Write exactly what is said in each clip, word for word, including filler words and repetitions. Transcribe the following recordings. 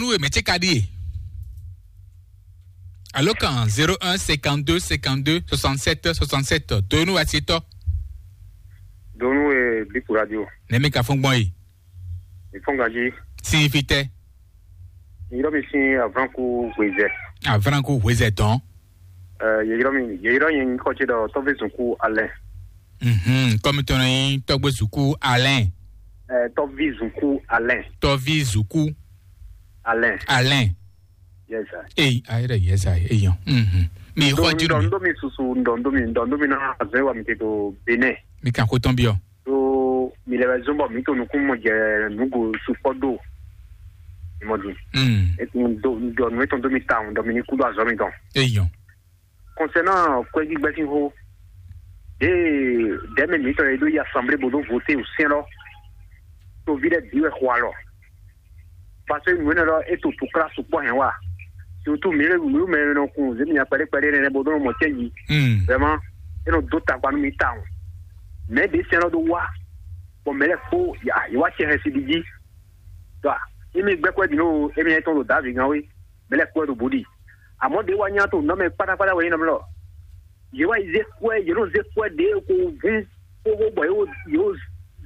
Ue mɛ ce ka ɖíe. Alo kan zéro un cinquante-deux cinquante-deux soixante-sept soixante-sept. Donu asitɔ. Donu e Bipu Radio. Nɛmi ka fún gbɔn yi. Mi fún gaji. Si fitɛ. Yɔrɔ mi sin avranku hwezɛ. Avranku hwezɛ tɔn. Ɛ yeyɔrɔ mi yeyɔrɔ yẹn nyikɔ ce ɖɔ tɔvi zunku alɛ. Mhm, kɔmi tɔn yi tɔgbe zuku alɛ. Ɛ tɔvi zunku alɛ. Tɔvi zuku alɛ. Alɛ. Yes sir. Eyi ayɛrɛ yɛ sa eyan. Mhm. Mi xɔ ji mi. Ndɔ mi susu ndɔ ndɔ mi ndɔ ndɔ mi na azɛ wa mi te to Benin. Mi kan ko tɔn biɔ. Ɖó mi lɛ wɛ zɔ́n bɔ mǐ to nukúnmɔ jɛ nǔgo sukpɔ́ ɖo. Mimɔ din. Mm. Etun do ɖɔ nǔ etɔn dó mi ta ɖɔ mi ní kú ɖo azɔ̌ mitɔn. Eyɔn. Concernant kwɛ́gbígbɛ́ sín xó, ɖěe dɛ̌mɛ mǐtɔn e ɖó yi asanblé bó ɖó voté o sɛn lɔ, toví lɛ́ɛ bǐ wɛ xo alɔ. Parce que nǔ énɛ́ lɔ é to túklá sukpɔ́ hɛn wá. Surtout mǐ lé mǐ mɛ e nɔ kun zě mǐ nya kpɛɖé kpɛɖé énɛ́ bó ɖó nɔ mɔ cɛ́nji. Hmm. Vraiment, é nɔ dó tagba nú mǐ tawun. Mɛ̌ ɖě sɛ́n lɔ ɖó wá, bɔ mɛ̌ lɛ́ɛ kpó yě wá cɛ hɛn siɖi jí. Ɖɔ émí gbɛ́ kwɛ́ ɖi nú émí nyanya tɔn ɖo Davíd gán wé, mɛ̌ lɛ́ɛ kpó wɛ ɖo bǔ ɖi. Amɔ̌ ɖě wá nya to nǔ mɛ kpátákpátá wɛ nyí nɔ mlɔ. Yě wá yi zé kwɛ́, yě nɔ zé kwɛ́ ɖě ko hún xóxó bɔ yě wo yě wo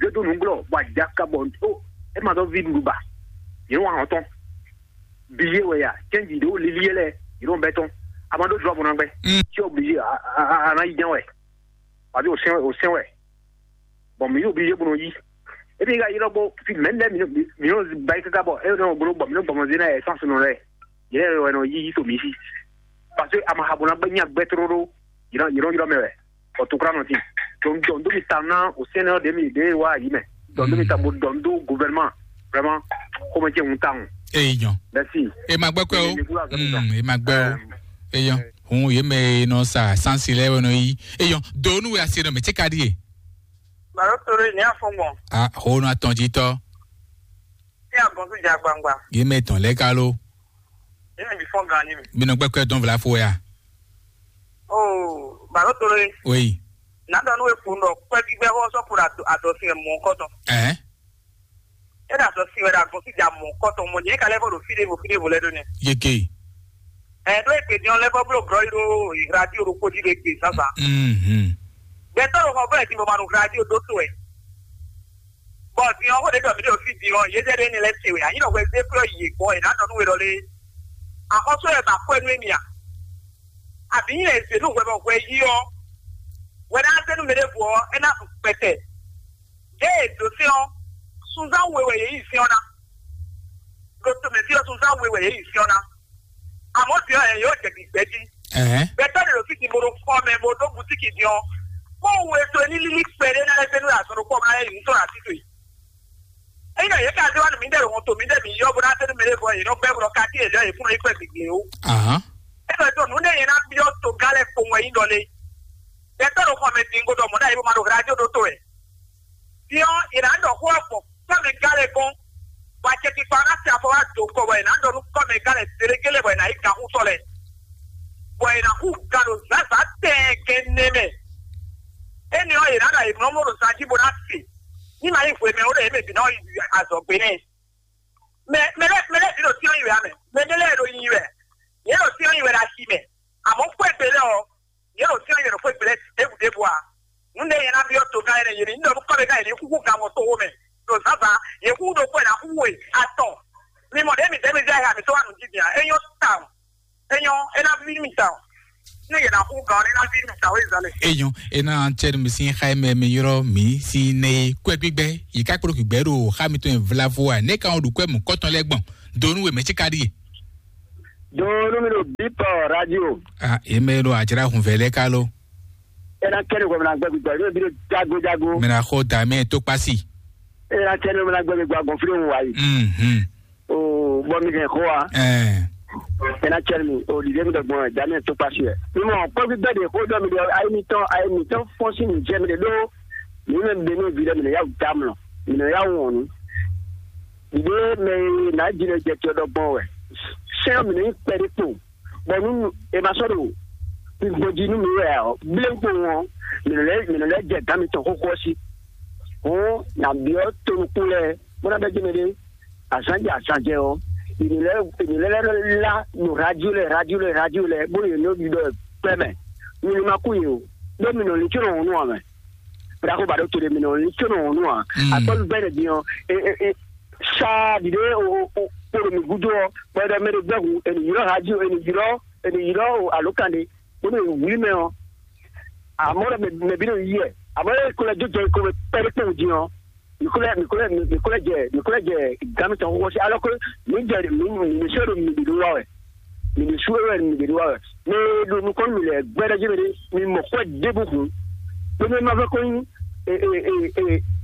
zé dó nǔglɔ́ bɔ ajaka bɔ ó é ma dɔ́ ví ɖuɖu ba. Yě nɔ wa hɔn tɔn. Billet wɛ ya, cɛnji ɖě wo lili yɛ lɛ, yě nɔ bɛ tɔn. A ma ɖó jlɔ́ bɔ ná gbɛ. Mm. Tí o billet a a a a ná yi ján wɛ. Wàbí o sɛn o sɛn wɛ. Bɔn mǐ ɖo billet bó nɔ yí. Ebi ka yi lɔ bó fi mɛ lɛ mǐ nɔ mǐ nɔ ba yi káká bɔ e nɔ gblo bɔ mǐ nɔ gbɔmɔ zé na yɛ sɔn sunɔ lɛ. Yɛ wɛ nɔ yí yí to mǐ sí. Parce que a ma ha bó ná gbɛ nya gbɛ tlóló. Yě nɔ yě nɔ ylɔ mɛ wɛ. Ɔ tukla nɔ ti. Donc donc mi ta ná o sɛnɛ ɖe mi ɖe wa yi mɛ. Donc mi ta bo donc do gouvernement vraiment. Comment tu on tang. Eyɔn. Merci. E ma gbɛ kwɛ o. Mm, e ma gbɛ o. Eyɔn. Hun ye mɛ nɔ sa sansi lɛ wɛ nɔ yi. Eyɔn. Donu wɛ asi nɔ mɛ tse ka di ye. Baro toro ni afɔngbɔn. A ho nɔ atɔn ji tɔ. Ti agbɔn su ja gbangba. Ye mɛ tɔn lɛ ka lo. Ye mɛ bi fɔn gan ni mi. Bi nɔ gbɛ kwɛ dɔn vla fo ya. Oh, baro toro ye. Oui. Nado nu e kun dɔ kwɛ gbígbɛ xɔ sɔ kura adɔ si mɔ kɔtɔ. Ɛɛ. E da sɔ si wɛ da gbɔn si ja mɔ kɔtɔ mɔ nyɛ ka lɛ fɔ do fi de vo fi de vo lɛ do nɛ. Yeke. Ɛ do e kpe diɔn lɛ fɔ blo grɔ yi do radio do kpodi de kpe sasa. Mhm. Gbɛtɔ do xɔ fɔ ɛ ti mo ma do radio do to ɛ. Bɔ diɔn ko de dɔ mi de o fi diɔn ye de de ni lɛ se wɛ anyi dɔ wɛ ze kplɔ yi gbɔ e na dɔ nu we dɔ le. Akɔsɔ yɛ ba kɔɛ nu emi a. Abi nyi lɛ ze nu wɛ bɔ wɛ yi ɔ. Wɛ na se nu mi de vo ɔ e na su kpɛtɛ. Yě e dǒ sɛ́n ɔ́, sunzán we wɛ yě yi sɛ́n ɔ́ ná. Ɖo tomɛ fí ɔ́, sunzán we wɛ yě yi sɛ́n ɔ́ ná. Amɔ̌ din ɔ́, yě yǒ jɛ gbǐgbɛ́ jí. Ɛhɛn. Gbɛtɔ́ ɖě ɖo fí din bó ɖo xɔ mɛ bó ɖó bǔtíki din ɔ́, kpɔ́n we to ní lílí kpɛɖé ná lɛ́ zé nú azɔn ɖokpó ɔ́ ná lɛ́ yi nǔ tɔn ɖo así towe. Ényí yě ka zé wá nú mǐdɛɛ ɖo hɔn to mǐdɛɛ mǐ yɔ́ bó ná zé nú mɛ ɖěvo ɔ́, yě nɔ gbɛ́ bó ɖɔ kácí yě lɛ́ yě fún nɔ yi kpɛ́ gběgbé ó. Ahán. É ɖɔ ɖɔ nǔ ɖé yě ná byɔ́ togán lɛ́ɛ kpowun wɛ nyí ɖɔ lé. Gbɛtɔ́ ɖo xɔ mɛ din godɔ mɔ̌ ɖ'ayǐ bó ma ɖo hla jó ɖó to wɛ. Din ɔ́, è nǎ ɖɔ xó ɔ́ gbɔn kɔ́mɛ gán lɛ́ɛ gɔ́n, bɔ acɛkpikpa ɔ́ ná tɛ afɔ wá dǒ kɔ, bɔ è nǎ ɖɔ nú kɔ́mɛ gán lɛ́ɛ zéɖékélé bɔ è nǎ yi ganxútɔ́ lɛ́ɛ, bɔ è nǎ xú gan ɖo zǎnzǎn tɛɛgɛn nɛ mɛ. Énɛ́ ɔ́, è nǎ ɖɔ ayǐmlɔ́mlɔ́ ɖo zan jí bó ná se, ní ma nyí hwemɛ ó ɖɔ yě mɛ bǐ ná yi azɔ̌gbé nɛ́. Mɛ mɛ lɛ́ɛ mɛ lɛ́ɛ bǐ ɖo cyɔ́n nyi wɛ ǎ mɛ, mɛ ɖé lɛ́ɛ ɖo nyi wɛ, yě ɖo cyɔ́n nyi wɛ ɖo asi mɛ, amɔ̌ xwé gbe lɛ́ɛ ɔ́, yě ɖo cyɔ́n yě ɖo xwé gblɛ́ ɖěbǔ ɖěbǔ ǎ. Nǔ ɖé nyɛ ná byɔ́ togán énɛ́ yě ní ɖɔ nú kɔ́mɛgán yě ní xúxú gan mɔ toxo mɛ ɖo zǎnzǎn, yě xúxú ɖokpó ɛ ná xúxú e atɔn. Mi mɔ ɖě mi dɛ́ mi zɛ ha mi tó wá nǔ jí din ǎ. É nyɔ́ tawun. É nyɔ́, é ná ví mi tawun. Nú yě ná xúxú gan ɔ́, é ná ví mi tawun é zǎn lɛ. Eyɔn, ena tsɛnu mi sin xa mɛ mi yrɔ mi si ne kwɛ gbígbɛ yi ká kplɔ gbígbɛ ɖo xa mi tɔn vlavo a ne ka wọn ɖu kwɛ mu kɔtɔn lɛ gbɔn donu we mɛ tsi ka ɖi. Donu mi ɖo bipɔ radio. Ah, eme ɖo adzra hun vɛ lɛ ka lo. Ena kɛnɛ gɔmina gbɛ gbígbɛ ɖo bi ɖo jago jago. Mina xɔ da mɛ to kpasi. Ena kɛnɛ gɔmina gbɛ gbígbɛ gbɔn fili wu wa yi. Mhm. O bɔ mi hɛn xó wa. Ɛɛ. Ena cɛn mi o ɖiɖe mi ɖe gbɔn daniel tó kpasi yɛ. Mi mɔ kpɔvi bɛ de xó dɔ mi ɖe ayi mi tɔn ayi mi tɔn fɔn si mi jɛ mi ɖe ɖo. Mi mɛ mi ɖe mi vi ɖe mi ɖe ya da mlɔ mi ɖe ya wɔn nu. Ɖiɖe mɛ na dzi ɖe jɛ tiɔ ɖɔ gbɔn wɛ. Sɛn mi ɖe kpɛ ɖe kpo. Bɔ nu e ma sɔ ɖo. Gbɔdzi nu mi wɛ ɔ gblé kpo wɔn. Mi lɛ mi lɛ jɛ gami tɔn xóxó si. Hɔn na biɔ tonukun lɛ. Bó ná bɛ jɛ mi ɖe. Azan jɛ azan jɛ ɔ. Ènìyàn lɛ́ɛ ènìyàn lɛ́ɛ lá ɖo radio lɛ radio lɛ radio lɛ bó yě nɔ ɖiɖɔ kpɛmɛ. Mi ní ma kú yě o. Bó mi nɔ lin có nɔ hun nú amɛ. Bla kó ba ɖó to ɖe mi nɔ lin có nɔ hun nú a. Akpɔ́ bɛ́ ɖe din ɔ́. Saa ɖiɖe o o o ɖo mi gúdo ɔ́, bɔ ɖɔ mɛ ɖe gbɛ́ hu ènìyàn radio ènìyàn ènìyàn o alo kan ɖe. Bó mi wlí mɛ ɔ́. Àmọ́ ɖɔ mɛ mɛ bí nɔ yí ɛ. Àmọ́ ɛ kó lɛ jó jɛ kó mɛ pɛ́ ɖé kpɔ́n din ɔ́. Mikúlẹ̀ mikúlẹ̀ mikúlẹ̀ jẹ mikúlẹ̀ jẹ gami tɔn wọ́n sí alọ́ pé mi jẹ mi mi sọ do mi de wa wɛ mi de su wɛ mi de wa wɛ mi do nukɔn mi lɛ gbɛdɛ jẹ mi de mi mɔ kɔ de bu kun pé mi ma fẹ́ kó ní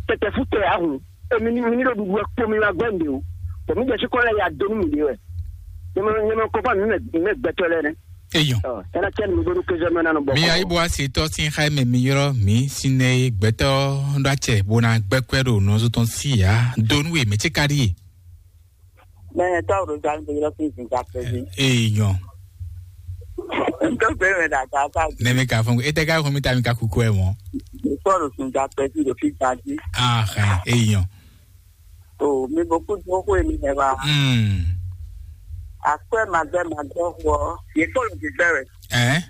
tɛtɛ fún tɛ ahùn èmi ní mi ní do dúdú wɛ kpó mi ma gbẹ́ mi de o bɔn mi jẹ sí kọ́ lɛ ya dó ní mi de wɛ nyɛmɛ nyɛmɛ kó fún mi mɛ gbẹtɔ lɛ nɛ. Eyɔn. Ɔ ɛna kɛ mi bó ní kézɔ mɛ nánu bɔ. Mi ayi bó a se tɔ sin xa mɛ mi yɔrɔ mi sin ne gbɛtɔ ɖo acɛ bó na gbɛkɔɛ ɖo nɔzɔ tɔn si ya donu e mɛ tse ka ɖi ye. Mɛ tɔ ro zan do yɔrɔ fi zun ka pɛ bi. Eyɔn. N tó gbé mɛ da ka ka bi. Ne mi ka fún e tɛ ka fún mi ta mi ka kuku ɛ mɔ. N tɔ ro zun ka pɛ bi do fi ka bi. Ah, eyɔn. O mi bo kú dúró xó èmi hɛn wa. Hmm. Akwɛ magbɛ magbɛ xɔ yě kó lò gbígbẹ́ rẹ̀. Ɛ.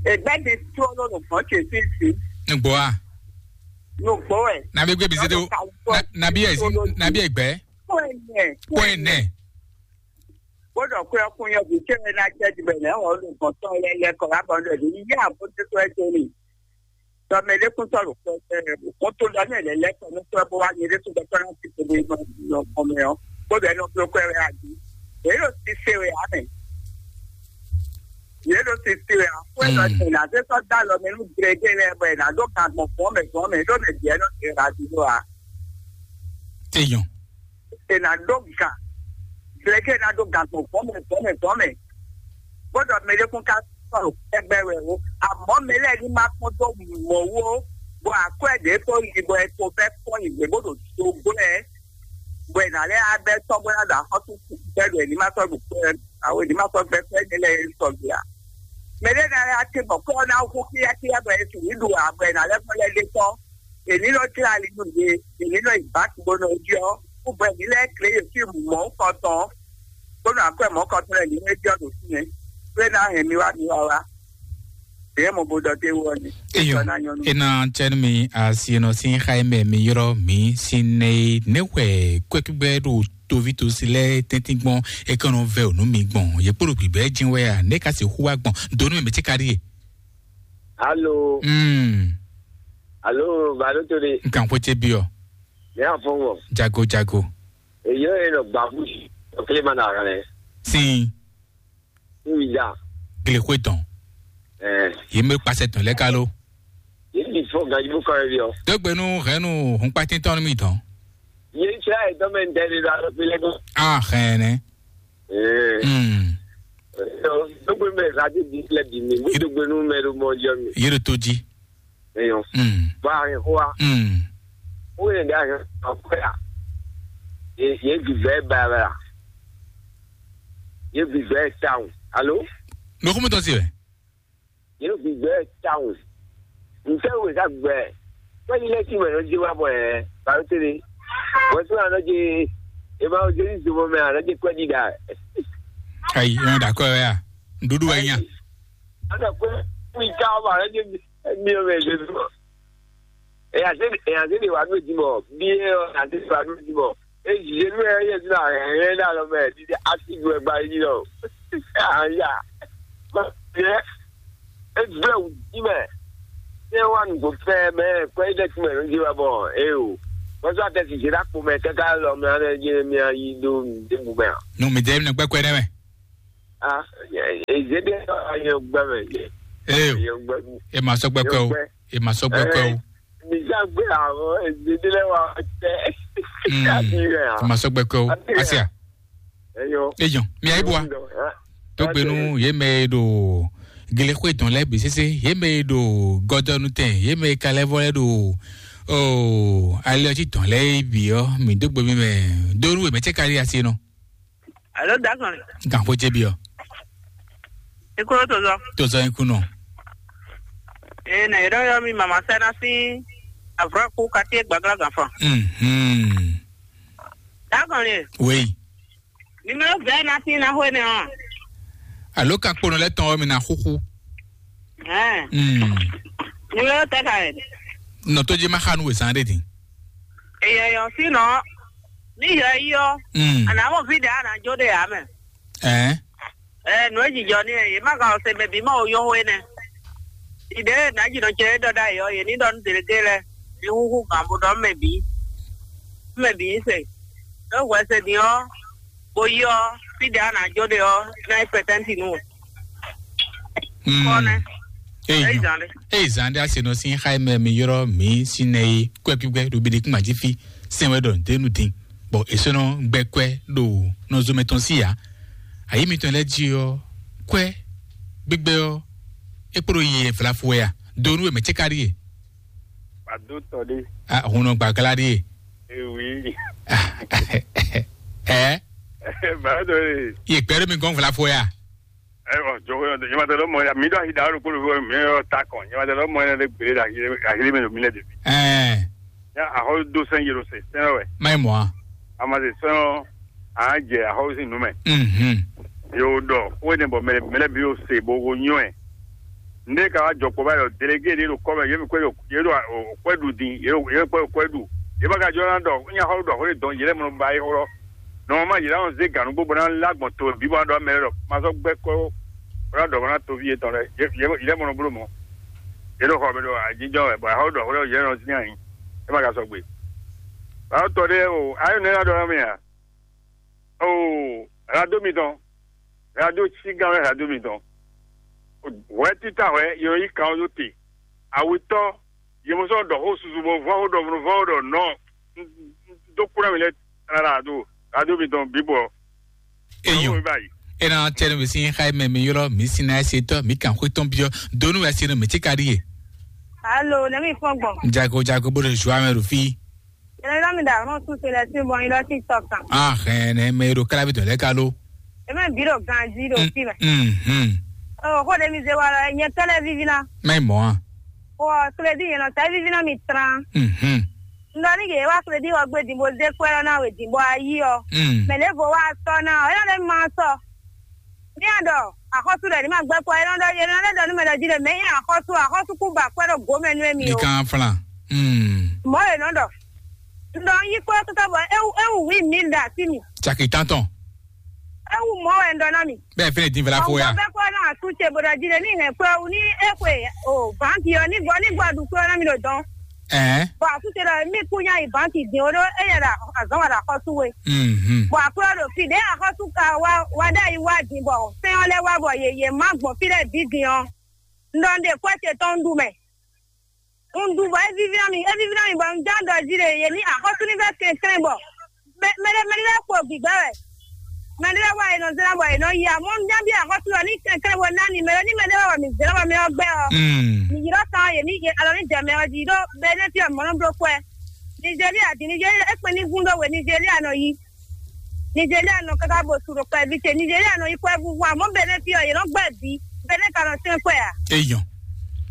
Ègbẹ́ di tró ló lò gbọ́n tè sí sí. Nugbo a. Nugbo ẹ̀. Nabi gbé bizete o. Nabi ẹ̀ sí nabi ẹ̀ gbẹ́. Kó ẹ̀ nẹ̀. Kó ẹ̀ nẹ̀. Gbọ́dọ̀ kó ẹkún yẹn kò tẹ́ ẹ náà jẹ́ ti bẹ̀rẹ̀ ẹ̀ wọ́n lò gbọ́n tán ẹ lẹ́kọ̀ọ́ lábọ́ndọ̀ ní yíyá àbójútó ẹ tó ní. Tɔmɛlɛkun sɔrɔ kɔn tó lɔ ní ɛlɛ lɛ kɔn ní sɔrɔ bó wá nyɛ ɖésú gbɛtɔ náà ti tó bó ma yọ kɔn mɛ ɔ kó bɛ nɔ bló kɔ ɛ wɛ adi èyí ló ti se wɛ amɛ èyí ló ti se wɛ akó ɛ lɔ tẹ nà sẹ sɔ dá lɔ mɛ nú gblɛgɛ lɛ bɔ ɛ nà dó kan gbɔn fún mɛ fún mɛ ɖó mɛ diɛ nɔ tẹ ra di ɖó a. Eyɔn. È nǎ ɖó gǎn, Glɛ̌kɛ ná ɖó gǎn gbɔn vɔ̌ mɛ vɔ̌ mɛ vɔ̌ mɛ, bó ɖɔ mɛɖékún ka sɔ́ ɖo kpɛ́gbɛ́ wɛ ó. Amɔ̌ mɛ lɛ́ɛ ní ma kpɔ́n dó mɔ̌ wú ó, bɔ akwɛ́ ɖě ko yi bɔ è ko bɛ́ kpɔ́n nyi gbě bó ɖo zogbó ɛ, bɔ è nǎ lɛ́ á bɛ́ tɔ́ bó ná ɖo axɔ́sú bɛ́ ɖo è ní ma sɔ́ ɖo kpɛ́ awo è ní ma sɔ́ gbɛ́ kpɛ́ ní lɛ́ɛ é sɔgbe ǎ. Mɛɖé ná lɛ́ á tín bɔ kɔ́ ɔ́ ná hú kíyákíyá bɔ è sixú ɖu ǎ, bɔ è nǎ lɛ́ vɔ́ lɛ́ ɖe kpɔ́. Èní nɔ jlá ali nú mi, èní nɔ yi bǎki bó nɔ jí ɔ́, kú bɔ èní lɛ́ɛ klé yě sín mɔ̌ kɔtɔn, bó nɔ akwɛ́ mɔ̌ kɔtɔn lɛ́ɛ ní nɔ jɔ ɖo fínɛ́, bó é ná hɛn mi wá mi wá wá. Běyɛ́ mo bo ɖɔ dó é wú ɔ́ nɛ́. Eyɔn, ena tsɛnu mi asi nɔ sin xa mɛ mi yrɔ mi sin ne ne wɛ kwɛkugbe ɖo tovi tosi lɛ tɛntin gbɔn e kɔn nɔ vɛ o nu mi gbɔn ye kpolo gbigbe jin wɛ a ne ka se hu wa gbɔn donu mi ti ka ɖi ye. Alo. Mm. Alo, balo to de. Nkan ko ce biɔ. Ne afɔngɔ. Jago jago. Eyo e nɔ gbafu okle ma na rɛ. Sin. Nwi da. Gile xwe tɔn. Eh. Ye me kpasɛ tɔn lɛ kalo. Ye ni fɔ gaji bu kɔ bi o. Dogbe nu hɛnu hun kpatin tɔn mi tɔn. Ye n sira ye tɔn mɛ n tɛ de da lo fi lɛ ko. Ah, hɛnɛ. Eh. Hmm. Dogbe mɛ radio di lɛ di mi. Dogbe nu mɛ do mɔ jɔ mi. Ye do to ji. Eyɔn. Mm. Bɔ a hɛn xó wa. Mm. Ó yɛ ɖe a hɛn xó ya. Ye ye gbigbɛ ba la. Ye gbigbɛ tawun. Alo? Nɔ xɔmɛ tɔn si wɛ. Ye gbigbɛ tawun. Ntɛ wo ka gbɛ. Fɛn yi lɛ ti mɛ nɔ ji wa bɔ ɛ. Balo tele. Wɛsu anɔ je. Ema o je ni zomɔ mɛ anɔ je kwɛ di da. Ayi, ema da kɔ ya. Ndudu wa nya. Anɔ kwɛ. Wi ka wa anɔ je. Emi ɔ́ mɛ zezɔ. Eya se eya se de wa nú edzi mɔ. Bi e ɔ na se de wa nú edzi mɔ. Ezi ze nú ɛ yɛ zina ɛ ɛ na lɔ mɛ di de asi du ɛgba yi lɔ. Aya. Yɛ. Egblɛ wù di mɛ. Ɛ wa nù go fɛ mɛ kɔ yi dɛ ti mɛ nù di wa bɔ e o. Wọ́n sọ àtẹ̀sí ṣe dá kpó mẹ́ kẹ́kẹ́ lọ mẹ́ ọ́n ẹ jẹ́ mi ayi dó mi dé bu mẹ́. Nu mi dɛ mi nɔ kpɛkpɛ nɛ mɛ. Ah, ezede ayɔ gbɛmɛ. Ee, ayɔ gbɛmɛ. E ma sɔ gbɛkɛ o. E ma sɔ gbɛkɛ o. Misa gbé àwọn ezede lɛ wa tɛ. Mm. Káàkiri rẹ. E ma sɔ gbɛkɛ o. Asia. Eyɔ. Eyɔ. Mi ayi bua. Tó gbenu ye mɛ ɖo gele xwe tɔn lɛ bi sese ye mɛ ɖo gɔdɔnu tɛ ye mɛ kalɛ vɔ lɛ ɖo o ali ɔtí tɔn lɛ bi ɔ mi dó gbe mi mɛ dóru mɛ tse kali asi nɔ. Alo, dagɔn. Gan xo jebi ɔ. Ikolo tozɔ. Tozɔ ikunɔ. Ee, na yɔrɔ yɔ mi mama sɛna si avura ku kati gbagla ganfan. Mhm. Dagɔn le. Oui. Numéro vingt na tin na xwe nɛ ɔ́. Alo ka kponɔ lɛ tɔn ɔ́ mi na xuxu. Ɛɛ. Mm. Numéro tɛ ka yɛ. Nɔ tó dzi ma xa nu wezan ɖe din. Eyɛ yɔ si nɔ. Ni yɔ yi ɔ. Mm. Ana mo fi de ana jo de ya mɛ. Ɛɛ. Ɛɛ, nu e jijɔ ni yɛ, ye ma ka ɔ se mɛ bi ma o yɔ xwe nɛ. Ide na ji nɔ cɛ e dɔ da yɔ ye ni dɔ nu deleke lɛ. Ni xuxu gan bo dɔ mɛ bi. Mɛ bi se. E wɛ se din ɔ. Bo yi ɔ, fi ɖe a nǎ jó ɖe ɔ́, é ná nyí pɛtɛ́nti nú we. Mm. Kɔnɛ. Eyi Eyi zan ɖe. Eyi zan ɖe asenɔ sin xa mɛ mi yrɔ mi sinɛ yi kwɛ gbígbɛ ɖo bidi kún mají fi sɛn wɛ ɖɔ dénú din bɔ èsónɔ gbɛ kwɛ ɖo nɔzɔmɛ tɔn sí ya. Ayi mitɔn lɛ jí ɔ kwɛ gbígbɛ ɔ ekpo ɖo yi vlafu wɛ ya do nú wɛ mɛ cɛ ka ɖi ye. Pàdó tɔ ɖé. Ah, hun nɔ gbàgbá ɖi ye. Ewi. Ɛ. Bàdó ɖé. Ye gbɛ ɖo mi gɔn vlafu ya. Ɛ ɔ jɔ ko yɔ nyɛ ma tɛ lɔ mɔ ya mi ɖo ahi da ro kolo ko mi yɔ ta kɔn nyɛ ma tɛ lɔ mɔ ya ɖe gbele ɖe ahi ahi mi ɖo mi lɛ de. Ɛ. Ya ahɔ do sɛn yero se sɛn wɛ. Mai mɔ a. Amase sɛn ɔ a jɛ ahɔ si nu mɛ. Mhm. Yo dɔ ko ne bɔ mɛ mɛ bi o se bo ko nyɔ ɛ. Nde ka wá jɔ kpɔ báyìí ɔ, délégué ɖé ɖo kɔ́ mɛ, yě mi kwɛ ɖo yě ɖo kwɛ ɖu din, yě ɖo yě kwɛ ɖo kwɛ ɖu. Yě ma ka jɔ ná ɖɔ nya xɔ ɖɔ xɔ ɖe dɔn yě lɛ mɔ ba yi xɔ. Nɔmɔma yě lɛ zé ganu gbogbo ná lá gbɔn to bí bɔ ná ɖɔ mɛ lɛ ɖɔ ma sɔ gbɛ kɔ bɔ ná ɖɔ bɔ ná to ví yetɔn lɛ yě yě lɛ mɔ bló mɔ. Yě ɖo xɔ mi ɖo ajijɔ wɛ bɔ xɔ ɖɔ xɔ ɖe yě lɛ nɔ zin ayi. Yě ma ka sɔ gbe. Ba tɔ ɖe o, ayi nɛ ná ɖɔ ná mi a. Oo, radio mitɔn, radio cígán wɛ radio mitɔn. Hwɛ títà hwɛ yɔ yí kan ɔ́ ɖó te. Awetɔ́, yě mɔ sɔ́ ɖɔ xó susu bɔ vɔ́ xó ɖɔ vɔ́ xó ɖɔ nɔ. Dó kúrẹ́ mi lɛ tlala ɖo radio mitɔn bíbɔ. Eyɔn. Báyìí. Ena tɛnɛ mi sin xa mɛ mi ylɔ mi sin na ɛsɛ tɔ mi kan xwe tɔn biɔ donu ɛsɛ no mi ti ka ɖi ye. Alo, ne mi fɔn gbɔn. Jago jago bo de joie mɛ ɖo fi. Yɛlɛ lɔ mi da ɔnɔ su se lɛ si bɔ nyi lɔ TikTok kan. Ah, hɛn ne me ɖo kala bi dɔ lɛ ka lo. Eme bi ɖo ganji ɖo fi mɛ. Mhm. O ko de mi ze wa lɔ nye tɔ lɛ vivi na. Mɛ mɔ a. O crédit yɛn nɔ tɛ vivi na mi tran. Mhm. Ndɔ ni yɛ wa crédit wɔ gbe din bo ze kwɛ lɔ na we din bɔ ayi ɔ. Mm. Mɛ ne vo wa sɔ na ɔ, yɛn ne ma sɔ. Ní a ɖɔ axɔ́sú ɖɔ ní ma gbɛ́ kɔ é nɔ ɖɔ é nɔ lɛ́ ɖɔ nú mɛ ɖɔ jí ɖɔ mɛ nyí axɔ́sú axɔ́sú kú ba kwɛ́ ɖo gǒ mɛ nú émí Ní o. Kan flan. Hmm. Mɔ̌ è nɔ ɖɔ. Un ɖɔ un yí kpɔ́ káká bɔ é wú é wú wǐ mǐ ɖe así mì. Caki tántɔn. É wú mɔ̌ wɛ un ɖɔ ná mì. Bẹ́ẹ̀ fẹ́rẹ̀ dín fẹ́lá fó ya. Ọ̀gbọ́n bẹ́ẹ̀ kọ́ náà tún ṣe bọ̀dọ̀ jí lè ní ìhẹn pé ní é pé o báńkì ọ ní gbọ́ ní gbọ́ àdúgbò náà mi lò dán. Ẹ́. Bɔn akúṣe ɖɔ mí kú nyá yi banki dín ó ɖó éyɛ ɖo azɔn wà ɖo axɔ́sú we. Mhm. Bɔn akwɛ́ ɖo fi ɖě axɔ́sú ka wá wá ɖ'ayǐ wá din bɔ sɛ́n ɔ́ lɛ́ wá bɔ yě yě má gbɔn fí lɛ́ɛ bǐ din ɔ́, un ɖɔ un ɖe kwɛ́ ce tɔn un ɖu mɛ. Un ɖu bɔ é víví ná mi, é víví ná mi bɔ un ján ɖɔ jí ɖe yě ní axɔ́sú ní vɛ́ kɛnklɛ́n bɔ mɛ mɛ ɖé mɛ ɖé lɛ́ɛ kpo gbǐgbɛ́ wɛ. Mɛ ɖé lɛ́ɛ wá è nɔ zlán bɔ è nɔ yi amɔ́ un ján bí axɔ́sú ɔ́ ní kɛnklɛ́n bɔ ná ni mɛ ɖé ní mɛ ɖé wá wɔ mǐ zlán bɔ mɛ ɔ́ gbɛ́ ɔ́. Mm. Mǐ ylɔ́ kan ɔ́ yě ní yě alɔ ní jɛ mɛ ɔ́ jí ɖó bɛ́ nɛ́ fí ɔ́ mɔ̌ nɔ bló kwɛ́. Nigeria din Nigeria é kpɛn ní gún ɖó we Nigeria nɔ yi. Nigeria nɔ káká bo su ɖo kpɛví ce Nigeria nɔ yi kwɛ́ vúvú amɔ́ bɛ́ nɛ́ fí ɔ́ yě nɔ gbɛ́ bǐ bɛ́ nɛ́ ka nɔ sɛ́n kwɛ́ ǎ. Eyɔn.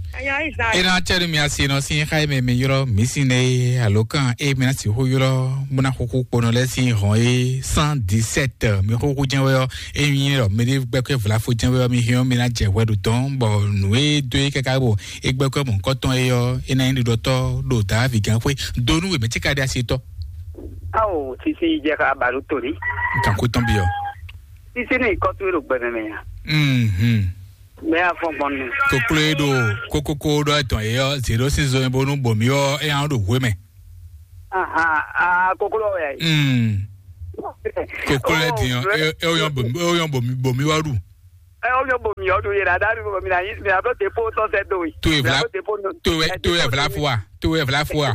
Ayɔ Israel. Ena tɛri mi asi nɔ sin xa me mi yrɔ mi sin ne alo kan e mi asi ho yrɔ muna xuxu kponɔ lɛ sin hɔn e cent dix-sept mi xuxu jɛn wɛ ɔ e mi yrɔ mi de gbɛkɛ vlafo jɛn wɛ ɔ mi hiɔ mi na jɛ hwɛ ɖo dɔn bɔ nu e do e kaka bɔ e gbɛkɛ mɔ nkɔtɔn e ɔ e na nyi ɖiɖɔtɔ ɖo da vi gan xwe donu we mɛ ti ka de asi tɔ. Awo sisi jɛ ka balu tori. Kan ko tɔn bi ɔ. Sisi ni kɔtu e ɖo gbɛmɛ mɛ ya. Mhm. Mɛ ya fɔn gbɔn nu. Koklo e ɖo kokoko ɖɔ etɔn e ɔ zero six zɔn bonu bomi ɔ e yan ɖo hwe mɛ. Aha, ah koklo ya yi. Mm. Koklo e din ɔ e e o yan bomi o yan bomi bomi wa ɖu. E o yan bomi ɔ ɖu ye la da ɖu bomi na yi mi na ɖo depo tɔn sɛ do yi. To e vla to e to e vla fua to e vla fua.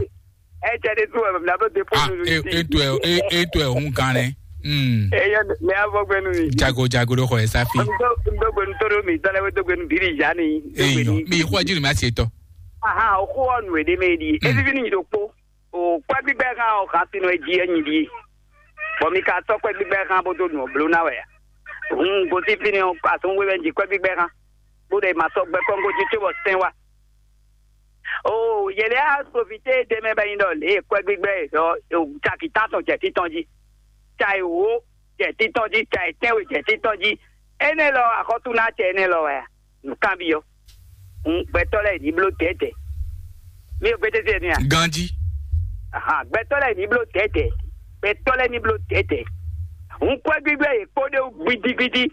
Etsɛ ɖe tu wɛ mɛ ɖo depo ah nu e e to e e e to e hun kan nɛ. Hmm. Eye mɛ avɔ gbɛnu mi. Jago jago ɖo xɔ ɛ safi. Ndo ndo gbɛnu to ɖo mi tɔlɛ we do gbɛnu diri ja ni. Eyi yɔ mi xɔ jiri mi asi etɔ. Aha o xɔ nu ede me di. Hmm. Evivi ni do kpo. O kpɛ gbigbɛ kan o kan sinu e di e nyi di. Bɔ mi ka tɔ kpɛ gbigbɛ kan bo do nu o blo na wɛ. Hun gosi fini o asun we wɛ ji kpɛ gbigbɛ kan. Bo de ma sɔ gbɛ kɔngo ji tso bɔ sɛn wa. Oo, yě lɛ́ɛ á sovitée ɖ'é mɛ bɔ é nyí ɖɔ lě e kwɛ́ gbígbɛ́ e ɖɔ caki tántɔn jɛ títɔn jí. Ca e wǒ, jɛ títɔn jí, ca yětɛ́nwe jɛ títɔn jí. Énɛ́ lɔ axɔ́túnácɛ énɛ́ lɔ wɛ a? Nǔkanbyɔ́. Gbɛtɔ́ lɛ́ɛ ní bló dɛ̌dɛ̌. Mi ò gbédédé mi a? Ganjí. Ahan, gbɛtɔ́ lɛ́ɛ ní bló dɛ̌dɛ̌. Gbɛtɔ́ lɛ́ɛ ní bló dɛ̌dɛ̌. Hun kwɛ́ gbígbɛ́ yě kpó ɖé wú gbidigbidi.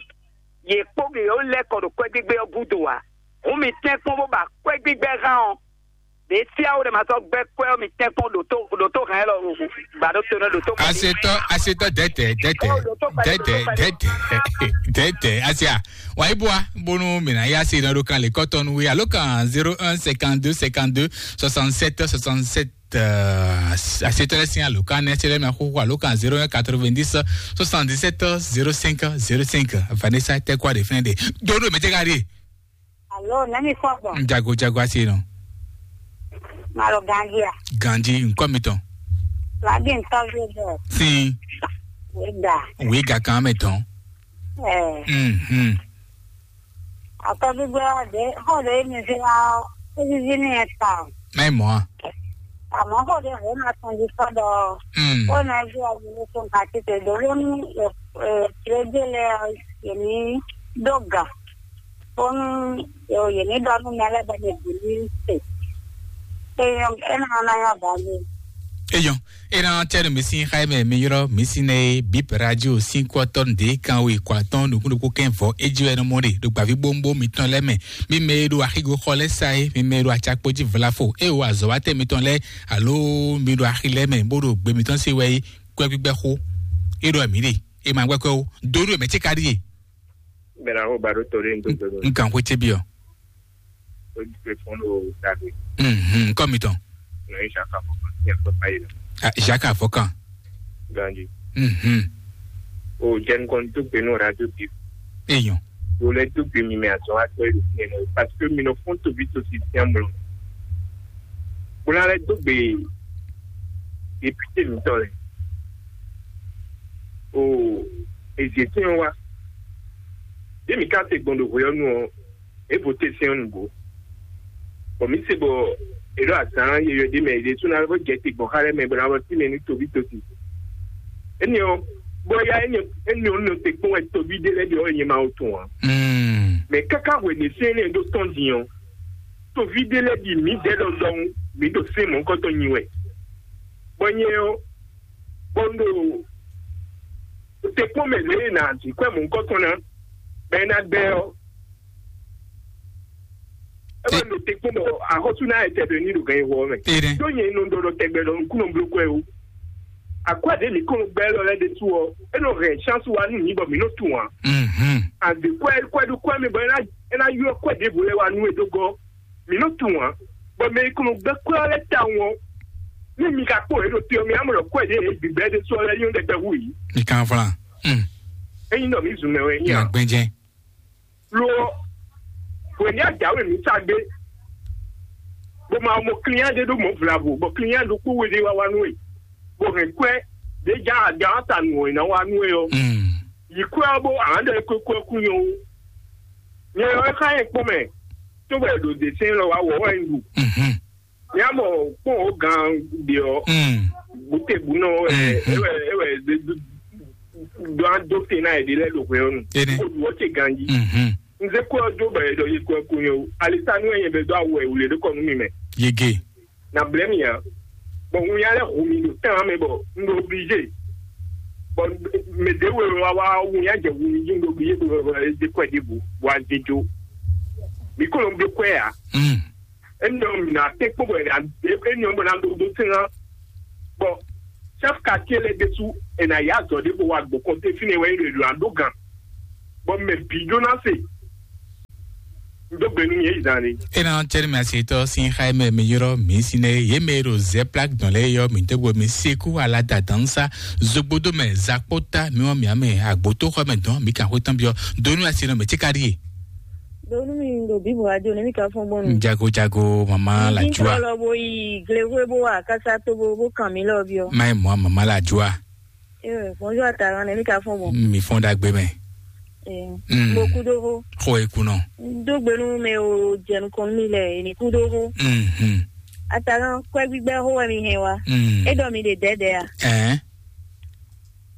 Yě kpó yě ó lɛ́ kɔ ɖo kwɛ́ gbígbɛ́ ɔ́ gúdo ǎ. Hun mi tɛ́nkpɔ́n bó ba kwɛ́ gbígbɛ́ hán ɔ́. Ɖě síáwó ɖé ma sɔ́ gbɛ́ kwɛ́ ɔ́, mi tɛ́nkpɔ́n ɖo tó ɖo tó hɛn élɔ́ ɖo gbǎ ɖó to nɛ́ ɖo tó. Asetɔ asetɔ dɛtɛ dɛtɛ dɛtɛ dɛtɛ dɛtɛ asia. Wa iboa bonu mina ya se na ɖo kan le kɔtɔnu we alo kan zéro un cinquante-deux cinquante-deux soixante-sept soixante-sept. Asetɔ lɛ sin alo kan ne se lɛ mi axoxo alo kan zéro un quatre-vingt-dix soixante-dix-sept zéro cinq zéro cinq. Vanessa tɛ kɔ de fɛn de. Dodo mɛ tɛ ka de. Alo, nɛmi kɔ gbɔ. Jago jago asi nɔ. Malo ganji a. Ganji nkɔ mi tɔn. Lagi ntɔvi bɔ. Sin. Wega. Wega kan mɛ tɔn. Ɛɛ. Mhm. Atɔvi gbɔ de xɔ de mi se la. Ezizi ni eta. Mɛ mɔ a. Àmọ́ kò dé hǒ ma tɔn jí sɔ́ ɖɔ Mm. Ó ná jí agbélé tó nǹkan títí dó ló ní tirégélé yě ní dó gǎn bónú yě ní ɖɔ nú mɛ lɛ́ɛ bɔ mɛ bǐ ní se. É nyɔ́ é ná ná nyɔ́ bǎ mì. Eyɔn, ena tɛnu mi sin xayi mɛ mi yrɔ mi sin ne bip radio sin kɔtɔn de kan we kɔ atɔn nukun nukun kɛn vɔ eji wɛ nɔ mɔ de do gbavi bombo mi tɔn lɛ mɛ. Mi mɛ e ɖo axigo xɔ lɛ sa e mi mɛ e ɖo atsakpo ji vlafo e wo azɔwatɛ mi tɔn lɛ alo mi ɖo axi lɛ mɛ bó ɖo gbe mi tɔn se wɛ yi kɔ gbígbɛ xo e ɖɔ mi ɖe e ma gbɛ kɔ o do ɖo mɛ ce ka ɖi e. Bɛlɛ aho ba ɖo to ɖe ŋdo gbɛgbɛ. N kan xwe ce bi ɔ. O di pe fɔn ɖo dagbe. Mhm, kɔ mi tɔn. Nɔ yi saka fɔ kan tiɲɛ kɔ ka yi lɛ. Ah, Jacques Afɔkan. Ganji. Mhm. O jɛn kɔn to gbe no radio bi. Eyɔn. O lɛ to gbe mi mɛ azɔn wa tɔ yi do fiɲɛ nɔ parce que mi nɔ fɔn to bi to si tiɲɛ mlɔ. Bó ná lɛ́ dó gbe député mǐtɔn lɛ́ɛ. O èzě tɛ́n wá. Yě mǐ ká se gbɔn ɖo hweyɔ́nu ɔ́, é vo te sɛn ɔ́ nǔgbó. Bɔ mǐ se bɔ è ɖo azǎn yeyɔ́ ɖé mɛ, è ɖe sú ná vɔ jɛ te gbɔn xá lɛ́ɛ mɛ bɔ ná vɔ sí mɛ nú toví tosi. Énɛ́ ɔ́, bɔ ya énɛ́ énɛ́ ɔ́ nɔ te kpɔ́n wɛ toví ɖé lɛ́ɛ ɖe ɔ́, è nyɛ ma wo tun ǎ. Mm. Mɛ káká hwɛ̌ ɖě sɛ́n énɛ́ ɖó tɔ́n din ɔ́, toví ɖé lɛ́ɛ ɖi mǐdɛɛ lɔ ɖɔhun mǐ ɖo sɛ́n mɔ̌hunkɔtɔn nyi wɛ. Bɔ nyɛ ɔ́, bɔ un ɖo te kpɔ́n mɛ lě e nǎ jí kwɛ́ mɔ̌hunkɔtɔn ná, bɔ é ná gbɛ ɔ́, é wɛ un ɖo te kpɔ́n bɔ axɔ́sú ná etɛ ɖo ní ɖo gǎn yi hɔ ɔ́ mɛ. Ɖó nyɛ nɔ ɖɔ ɖɔ tɛgbɛ ɖɔ nukúnnɔ bló kwɛ́ ó. Akwɛ́ ɖě mǐ kɔn nɔ gbɛ élɔ́ lɛ́ɛ ɖésú ɔ́, é nɔ hɛn chance wá nú mǐ bɔ mǐ nɔ tunwun ǎ. Àgbě kwɛ́ kwɛ́ ɖó kwɛ́ mɛ bɔ é ná é ná ylɔ́ kwɛ́ ɖěvo lɛ́ɛ wá nú we dó gɔ́. Mǐ nɔ tunwun ǎ. Bɔ mɛ e kɔn nɔ gbɛ́ kwɛ́ ɔ́ lɛ́ɛ tawun ɔ́, ní mi ka kpó yě ɖo te ɔ́, mi ná mɔ ɖɔ kwɛ́ ɖě e bǐ bɛ́ ɖésú ɔ́ lɛ́ɛ nyɔ́ ɖɛkpɛ hú yǐ. Mi kan vlan. Mm. Ényí ɖɔ mǐ zun mɛ wɛ é nyí Mi ǎ. Agbɛnjɛ. Lo ɔ́, hwě ní ajǎwe mǐ sa gbé, bó ma mɔ client ɖé ɖó mɔ̌ vlavo, bɔ client ɖokpó we ɖé wá wá nú we, bó hɛn kwɛ́ ɖě já aga ɔ́ ta nǔ ɔ́ ná wá nú we ɔ́. Mm. Yi kwɛ́ ɔ́ bó ǎ ɖɔ é kwékwɛ́ kú nyɔ ó. Nyɛ ɔ́ é xá nyɛ kpɔ́n mɛ, tó bɔ è ɖo dě sɛ́n lɔ wá wɔ wɛ un ɖu. Mhm. Mía mɔ kpɔn o gan ɖe ɔ. Mm. Bute bu nɔ ɛ Mm, mm. Ewɛ ewɛ de du do an do te na ɛ de lɛ do hwɛ ɔnu. Ene. Ko du ɔtse ganji. Mhm. Nze ko do bɛ dɔ ye ko ko yo. Alisa nu ɛ bɛ do awɔ ɛ wule de kɔ nu mi mɛ. Yege. Na blɛ mi ya. Bɔn ŋun ya lɛ hu mi do tɛn amɛ bɔ n do obligé. Bɔn mɛ de wɛ wa wa ŋun ya jɛ hu mi ji n do obligé bɔ de kɔ de bu wa de jo. Mi ko lo n do kɔ ya. Mm. Emi ɔ́, mi ná tɛ́nkpɔ́n bɔ è nǎ emi ɔ́ bɔ ná ɖó ɖó sɛ́n ná. Bɔ chef quartier lɛ́ɛ ɖésú è nǎ yá azɔ̌ ɖé bó wá gbɔn kɔnté fínɛ́ wɛ é ɖo è ɖo ná ɖó gǎn. Bɔ mɛ bǐ ɖó ná se. Dó gbe nú mi yě zan ni. Ena tɛri mi asetɔ sin xayi mɛ mi yɔrɔ mi si ne ye mɛ ɖo zɛ plak dɔn lɛ yɔ mi tɛ bo mi seku ala da dansa zogbodo mɛ zakpota mi wɔ mi ame agboto xɔ mɛ dɔn mi kan xɔ tɔn biɔ donu asi nɔ mɛ tsikari ye. Donu mi ɖo Bible radio ne mi ka fɔn gbɔn nu. Jago jago mama la jua. Lɔ bo yi glewe bo wa kasa to bo bo kan mi lɔ biɔ. Mayi mɔ mama la jua. Eh, bonjour Ataran ne mi ka fɔn gbɔn. Mi fɔn dagbe mɛ. Eh, Mm. Mo kudo ho. Xɔ ekunɔ. Do gbenu me o jɛnu kɔn mi lɛ ni kudo ho. Mhm. Ataran kwɛ gbigbɛ ho wɛ mi hɛn wa. Mm. E dɔ mi de dɛdɛ a. Eh.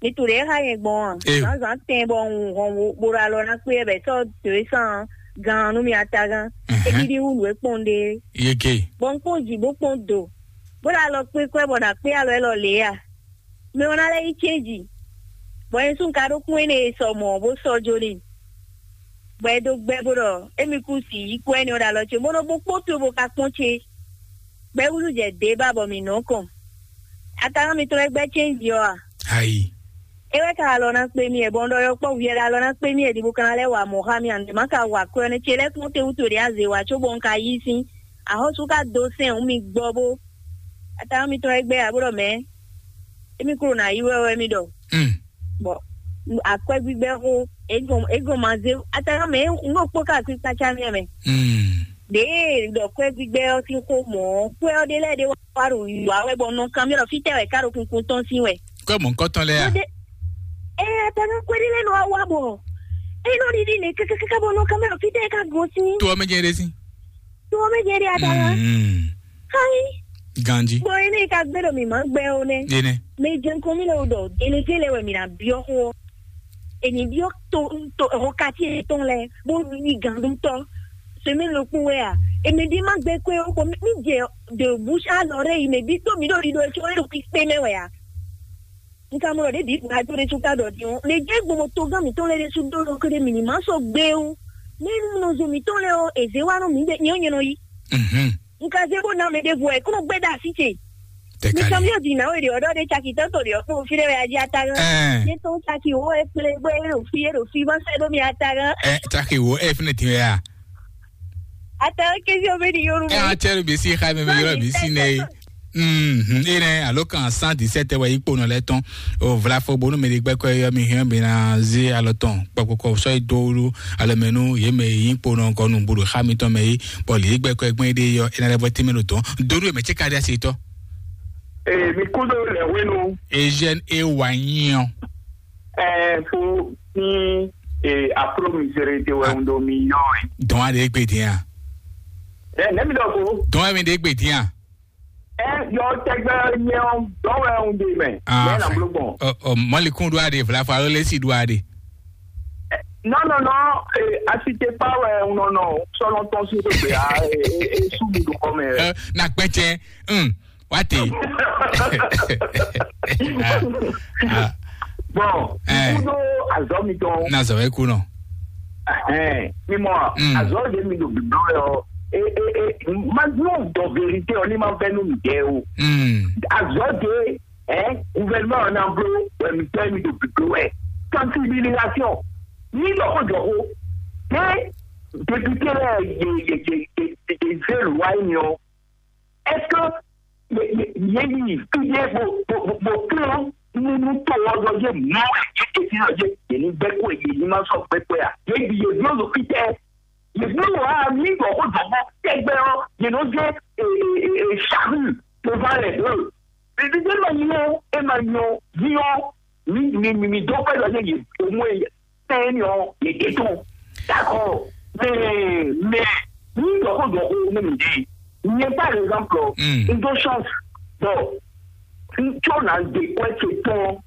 Mi tunwun ɖě e xa nyɛ gbɔn a? Zǎnzǎn tɛn bɔ un hɔn bó ɖo alɔ ná kpé bɛ sɔ́ dǒwe sán gan nú mi atagán. É ɖiɖi hú nǔ e kpɔ́n ɖe. Yeke. Bɔ un kpɔ́n jǐ bó kpɔ́n do, bó ɖo alɔ kpé kwɛ bɔ nǎ kpé alɔ élɔ́ lě a? Mɛ ɔ́ ná lɛ́ yí cɛ́nji, bɔ nyɛ sú un ka ɖó kún énɛ́ e sɔ mɔ̌ bó sɔ́ jó n'i, bɔ é dó gbɛ́ bó ɖɔ émí kú si yí kú ɛnɛ ɔ́ ɖo alɔ ce, bó nɔ bó kpó towe bó ka kpɔ́n ce. Gbɛ́ wúzú jɛ dě ba bɔ mǐ nɔ kɔn. Atagán mitɔn e gbɛ́ cɛ́nji ɔ́ a? Ayi. É wɛ ka alɔ ná kpé mì wɛ, bɔ un ɖɔ yɔkpɔ́vú yɛ ɖo alɔ ná kpé mì wɛ, ɖi bó ka ná lɛ́ wa mɔ̌ xá mì a? Nǔ ɖé má ka wa kwɛ́ ɔ́ nɛ́ ce lɛ́ɛ kpɔ́n te wútu ɖě a zě wa cóbɔ un ka yí sín. Axɔ́sú ka dó sɛn hǔn mi gbɔ bó. Atagán mitɔn e gbɛ́ a bó ɖɔ mɛ̌? Émí kúrò ná yí wɛ wɛ mì ɖɔ. Bɔ akwɛ́ gbígbɛ́ xó, é gɔn é gɔn ma zé atagán mɛ un ɖo kpó ka akpí kpácá mì mɛ. Ɖěe ɖɔ kwɛ́ gbígbɛ́ ɔ́ sín xó mɔ̌, kwɛ́ ɔ́ ɖé lɛ́ɛ ɖé wá ɖo yǐwá wɛ bɔ un nɔ kanbyɔ́ ɖɔ fítɛ́ wɛ ká ɖo kunkun tɔn sín wɛ. Kɔ́ mɔ̌hunkɔtɔn lɛ́ɛ a? Ɖé ɛ atagán kwɛ́ ɖé lɛ́ɛ nɔ wá wá bɔ é nɔ ɖiɖi nɛ kákákáká bɔ un nɔ kanbyɔ́ ɖɔ fítɛ́ wɛ ká gosín. To ɔ́ mɛ jɛ ɖé sín. To ɔ́ mɛ jɛ ɖé atagán. Hai. Ganji. Bɔ énɛ́ ka gbé ɖɔ mǐ má gbɛ ó nɛ́. Énɛ́. Mɛ jɛ nukɔn mì lɛ wò ɖɔ délégué lɛ wɛ mǐ ná byɔ́ xó ɔ́. È ní byɔ́ to to hɔn kati yětɔn lɛ bó yí gǎndútɔ́. Semaine ɖokpó wɛ a? È mɛ ɖé má gbɛ kwɛ́ ó bɔ mì jɛ de bouche à l'oreille mɛ bí tó mǐ ɖo ɖiɖɔ ɛ có é ɖo kpíkpé mɛ wɛ a? Un ka mɔ ɖɔ ɖěbǔ bǔ ajo ɖé sú ka ɖɔ din ɔ́, mɛ jɛ gbɔn bɔ togán mǐtɔn lɛ́ɛ ɖésú ɖó ɖɔ kéré mǐ ní má sɔ́ gbé ó. Mɛ nú nɔ zo mǐtɔn lɛ́ɛ ɔ́, è zě wá nú mǐ ɖe nyɛ ɔ́ nyɛ nɔ yí. Un ka zé bó ná mɛ ɖěvo ɛ kó nɔ gbɛ́ ɖa así ce. Mi kan mi ò dì náwó èdè ọ̀dọ́ de caki tán tòdì ọ̀pọ̀ òfin rẹ̀ ajé atagán. Ní tó ń caki owó ẹ pélé gbé èrò fi èrò fi bá fẹ́ lómi atagán. Ẹ caki wo ẹ fúnẹ tiwẹ ya. Atagán kézi omi ni yorùbá. Ẹ á tẹ́lu bí sí xa mi mi yọrọ bí sí nẹ. Mhm, ene alo kan cent dix-sept wɛ ikpo nɔ lɛ tɔn. O vlafo bonu mɛ de gbɛkɔ yɔ mi hɛn bi na zi alɔ tɔn kpɔkpɔkɔ sɔ yi do wu alɔ mɛ nu ye mɛ yi kpo nɔ kɔ nu bolo xa mi tɔn mɛ yi bɔ li gbɛkɔ gbɛn de yɔ ena lɛ bɔ timi lo tɔn dodo mɛ tse ka de asi tɔ. Ee, mi kúndó lɛ wenu. Eugène e wa nyiɔ. Ɛɛ, fo ní ee, afro misere te wɛ ń do mi yɔ ɛ. Dɔn a de gbe diya. Ɛ nɛ mi dɔ ko. Dɔn a mi de gbe diya. Ɛ yɔ tɛgbɛ nyɛ ɔ dɔn wɛ ń de mɛ. Ah, mɛ na bolo gbɔn. Ɔ ɔ mɔlikun do a de vlafa alo lesi do a de. Non, non, non, eh, asite pa wɛ un nɔ nɔ sɔlɔ tɔn si gbegbe a e su mi do kɔ mɛ. Ɛ na kpɛcɛ. Wá tè. Bɔn ikú ɖó azɔ mitɔn. Na zɔ wɛ kú nɔ. Mímɔ azɔ ɖe mi ɖo biblɔ yɔ. Mazɔ dɔ verite ɔ ní ma vɛ nú mi jɛ o. Azɔ ɖe ɛ gouvernement ɔ́ ná bló wɛ mi tɛ mi ɖo biblɔ wɛ. Sensibilisation ní dɔkó dɔkó. Ɖé député lɛ yé yé yé yé zé lwa yi mi ɔ. Est-ce que yě yi fídé bó bó bó bó kplɔ́n nínú tó ɔ́ ɖɔ yé mɔ yé tètè ɖɔ yé yě ní gbɛ́ kó yé ní ma sɔ́ gbɛ́ kó ya? Yě yi yě bló ɖo fítɛ́. Yě bló wǎ mí ɖɔ xó dɔ̌bɔ tɛgbɛ ɔ́ yě nɔ zé ṣahu devant les deux. Ɖiɖi ɖé ma nyɔ é ma nyɔ yí ɔ́ mi mi mi mi dó pɛ́ ɖɔ yé yě mú é tɛ́n ɔ́ yě ɖe tɔn. D'accord. Mais mais ní dɔ̌xó dɔ̌xó ní mi ɖe. Nyɛ par exemple n dó chance bɔ n tsó na de kwɛ ce tɔn.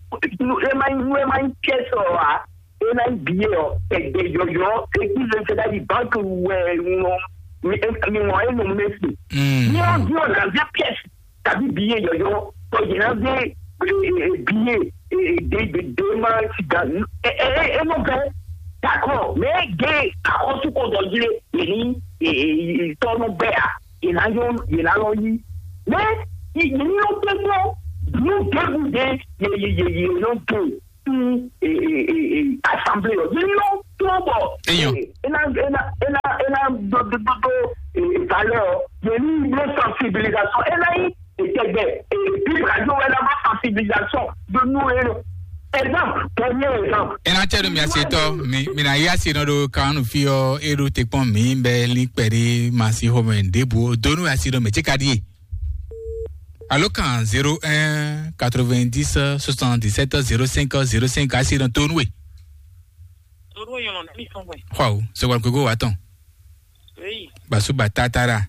Ema nyi ema nyi pièce ɔ a ena nyi billet ɔ ɛgbɛ yɔyɔ eki le se ɖa yi banque wɛ ŋlɔ mi mi ŋlɔ enu mesi. Ní ɔn di ɔ na zé pièce tàbí billet yɔyɔ tɔ yìí na zé billet de de de ma siga enu bɛ. D'accord, mais gé akɔsu ko dɔ yire yìí ní tɔnu bɛ a yìí na yɔ yìí na lɔ yí. Mais yìí ní lɔ tɛ gbɔ nu gégùn de yìí yìí yìí lɔ tó. Assemblée ɔ yìí lɔ tó bɔ. Eyɔn. Ena ena ena ena dododo valeur ɔ yìí ní lɔ sensibilisation ena yi. Ìtẹ̀gbẹ́ èdè ìgbàjọ wẹ́ lọ́wọ́ sensibilisation de nous et exemple, premier exemple. Ena tse ɖo mia se tɔ mi mi na ya se nɔ ɖo kanu fi ɔ e ɖo te kpɔn mi bɛ li kpɛ ɖe ma si xɔ mɛ ɖebu o donu ya se nɔ mɛ tse ka ɖi ye. Alo kan zéro un quatre-vingt-dix soixante-dix-sept zéro cinq zéro cinq a se nɔ to nu we. Toru yɔn na mi sɔn wɛ. Xɔ o sɔgbɔn kogo wa tɔn. Eyi. Basuba tatara.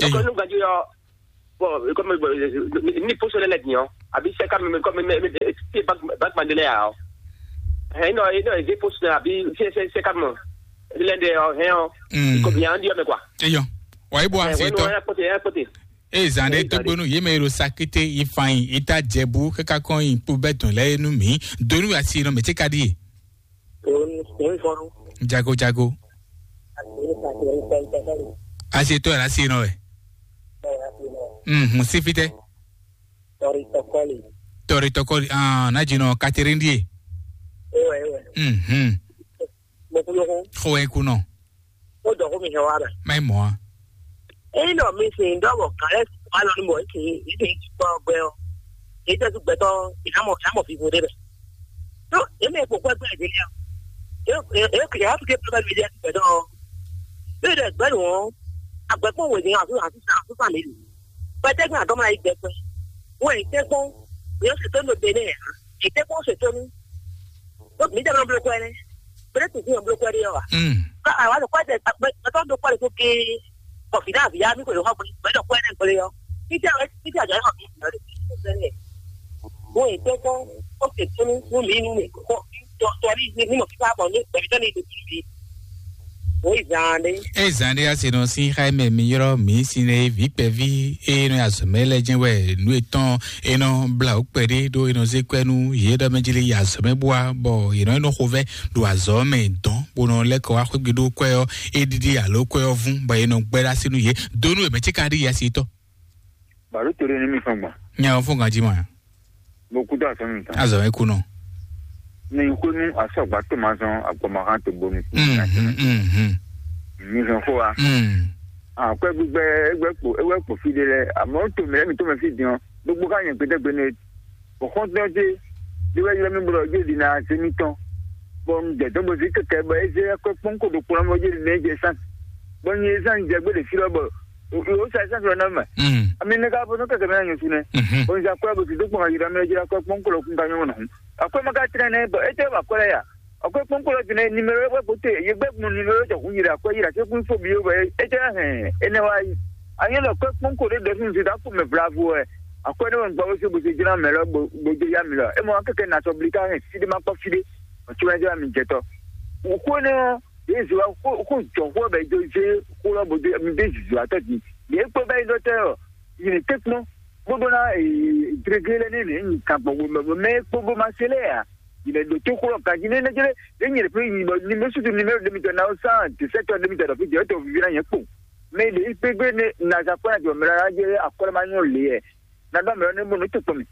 Donc, eyo, nous gagnons, bon, comme, euh, ni poste lɛ din, hein. Abi c'est quand même comme, mais, mais, c'est pas, pas mandele, hein. Hein, non, non, c'est poste, abi c'est, c'est, c'est quand même. L'un des, euh, hein, mm, comme il y a un dieu, mais quoi. Eyo. Wai bo, eh, asi ouais, to. Non, un côté, un côté. E zan ɖe, eh, dó gbónú yě mɛ e ɖo sakíté yi fan yi, yi ta jɛbu káká kɔn yi kpó bɛ dɔn lɛ nú mi. Donu asi nɔ mɛ tí ka ɖi. Jago jago. Asi tɔ yàrá si nɔ wɛ. Mhm, si fitɛ. Tɔri tɔkɔli. Tɔri tɔkɔli. Ah, na jinɔ Catherine die. Mhm. Mo kú lókun. Xo wɛ kú nɔ. Ó dɔ xó mi hɛn wá mɛ. Má yi mɔ a. Eyi nɔ mi sin dɔ bɔ kan lɛ wa lɔ ni mɔ esi esi ti kpɔ gbɛ ɔ. Eyi tɛ su gbɛtɔ ina mɔ ina mɔ fifu de bɛ. No eme kpokpɔ gbɛ de ya. E e e ya fi ke pɛ mi de gbɛtɔ. Bí o de gbɛ nu ɔ, agbɛkpɔn wɛ ni asu asu asu sa mi lu. Pɛtɛ gbɛ adɔmɔ ayi gbɛ kpɛ. Wɛ tɛ kpɔn yɔ se tɔn do de ne ya. Yi tɛ kpɔn se tɔn nu. Ɖó mǐ jɛ nɔ bló kwɛ́ nɛ́. Bɛ́ tún fí nɔ bló kwɛ́ ɖé ɔ́ ǎ. Mm. Ká àwa ɖo kwɛ́ ɖe gbɛtɔ́ ɖo kwɛ́ ɖé tó géé. Bɔ fǐ ɖé avǐ yá mí ko ɖo xɔ gbé gbɛ́ ɖɔ kwɛ́ nɛ́ gbélé ɔ́. Fítɛ́ wɛ fítɛ́ àjọ yɛ xɔ mǐ nɔ ɖe fí fí fí fí. Bó e tɛ́ kpɔ́n ó se tónú nú mǐ nú mǐ kɔ tɔ tɔ ní ní mɔ fífá bɔ ní gbɛ̀mítɔ́ ní ɖo fí fí. Wǒ yi zaan ɖé. Eye zan ɖé asi nɔ sín xá mɛ mi ylɔ́ mǐ sin e vǐ kpɛví e nɔ yi azɔ̌ mɛ lɛ́ɛ jɛ́n wɛ nǔ yětɔn e nɔ blá wǔ kpɛɖé ɖó e nɔ zé kwɛ́ nú yě ɖɔ mɛ jí lé yi azɔ̌ mɛ bó wá bɔ yě nɔ yi nɔ xovɛ́ ɖo azɔ̌ mɛ dɔn bó nɔ lɛ́ kɔ wá xwégbe ɖó kwɛ́ ɔ́ é ɖíɖí alo kwɛ́ ɔ́ vún bɔ è nɔ gbɛ́ ɖó así nú yě dó nú è mɛ cíka ɖi yɛ si tɔn. Bǎɖó to ɖé ní mi fɔ́n gbɔn. Nya ɔ́ fɔ́n ganjí mɔ ya. Mo kú dó azɔ̌ mi tán. Azɔ̌ mi kú nɔ. Mi xwé nú asɔgba tó ma zɔn agbɔmɔhan tó bónú. Mhm, mhm. Mi hɛn xó wa. Mm. Akwɛ́ gbígbɛ égbɛ́ kpo éwɛ́ kpo fí ɖé lɛ́ɛ. Amɔ̌ to mǐ lɛ́ɛ mi tó mɛ fí din ɔ́, gbogbo ká nyɛ gbɛdɛgbɛ nɛ. Bɔ xɔ́ntɔn ce ɖé wɛ ylɔ́ mì bɔ ɖɔ jé ɖi ná zé mì tɔn. Bɔ un jɛ dɔn bɔ zí kɛkɛ bɔ é zé akwɛ́ kpɔ́n ko ɖo kplɔ́n bɔ jé ɖi ná jɛ sán. Bɔ nyɛ zán jɛ gbé ɖe fí lɔ bɔ o sa sán fí lɔ ná mɛ. Mm. Ami ne ka bɔ nɔ kɛkɛ mɛ na nyɔ su nɛ. Mhm. Bɔ un za akwɛ́ bɔ zí dó kpɔn ayira mɛ jɛ akwɛ́ kpɔ́n ko lɔ kun ka nyɔ nɔ hun. Akwɛ́ ma ka tlɛn nɛ bɔ é tɛ wà akwɛ́ lɛ́ɛ ya. Akwɛ́ kpɔ́n ko lɔ din nɛ numéro wɛ ko te ye gbɛ kun numéro jɔ hun yira akwɛ́ yira se kun fo bi yo bɔ é tɛ hɛn é nɛ wá yi. Anyɛ lɔ akwɛ́ kpɔ́n ko ɖe dɔ fún zita fún mɛ vlavo wɛ. Akwɛ́ ne wɛ un gbɔ bó se bó se jlá mɛ lɔ bó bó dó yá mi lɔ. É mɔ kɛkɛ na sɔ bli ká hɛn fí ɖé ma kpɔ fí ɖé. Ɔtí wɛ jɛ mi jɛ tɔ. Wò xó ne ɔ́, yě zɔ wá xó xó jɔ xó bɛ do zé xó lɔ bó dó mi dé zizɔ atɔ di. Yě kpó bɛ yi dɔ tɛ ɔ, yi ne té kpɔ́n. Bó dó ná ee dréglé lɛ ní ne nyi kan gbɔ wò mɛ mɛ kpó bó ma se lɛ ya. Yi ne ɖo tó xó lɔ kan jí ne ne jɛ ne nyi ɖe fún yi bɔ ni mɛ sutu ni mɛ ɖe mi tɔ na o san de sɛ tɔ ɖe mi tɔ ɖɔ fi jɛ tɔ vivi na yɛ kpó. Mɛ ɖe yi gbégbé ne na za kpɔ́ na jɔ mɛ la jɛ akɔlɛ ma nyɔ le yɛ. Na dɔ mɛ ne mo no to kpɔn mi.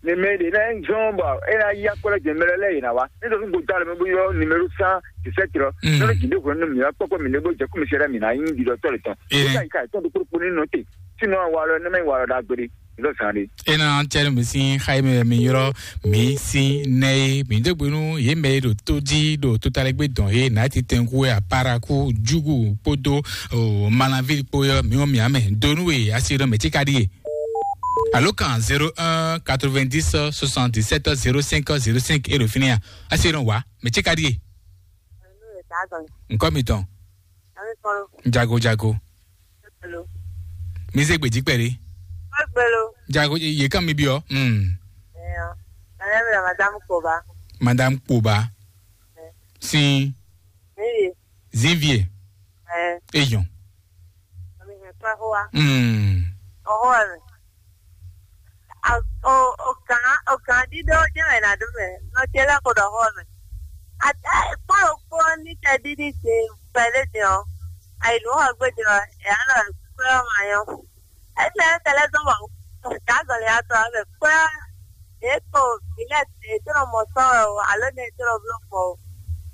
Ne mɛ ɖe na zɔn bɔ e na yi akɔlɛ jɛ mɛ lɛ lɛ yi na wa. Ne dɔ go da le mɛ bo yɔ numéro san de sɛ tɔ. Mm. Ne le jinde ko ne mi wa kpɔkpɔ mi ne bo jɛ ko mi se mi na yi di dɔ tɔ le tɔn. Ee. Ka yi ka tɔn do kpokpo ni nɔ te. Sinɔ wa lɔ ne mɛ wa lɔ da gbede. Dɔ san de. E na cɛ mi sin xayi mɛ mi yɔrɔ mi sin nɛ ye mi degbe nu ye mɛ ɖo to di ɖo totalɛgbe dɔn ye na ti tɛnku ya paraku jugu kpodo o malavi kpo yɔ mi wɔ mi amɛ donu ye asi ɖɔ mɛ ti ka di ye. Alo kan zéro un quatre-vingt-dix soixante-dix-sept zéro cinq zéro cinq e ɖo fini ya. Asi ɖɔ wa mɛ ti ka di ye. Nkɔ mi tɔn. Jago jago. Mi se gbeji kpɛɖe. Jago ye kan mi biɔ. Hmm. Madame Koba. Madame Koba. Sin. Zinvie. Eyɔn. Ɔhɔn. Ɔhɔn. A- o o kan o kan dídó jẹ́ wɛ na dó mɛ nɔ tse lɛ ko ɖɔ xɔ mɛ. Ata kpɔn kpɔn ní tɛ dídí se pɛlɛ dɛ ɔ. Ayi ló xɔ gbé dɛ ɔ, ɛ alɔ kúrẹ́ ɔmọ ayɔ. Ɛsɛ ɛsɛ lɛ dɔn wɔ. Kazɔli atɔ ɛmɛ kúrẹ́. Eko ilé ètò mɔ sɔ o alo ne ètò bló mɔ o.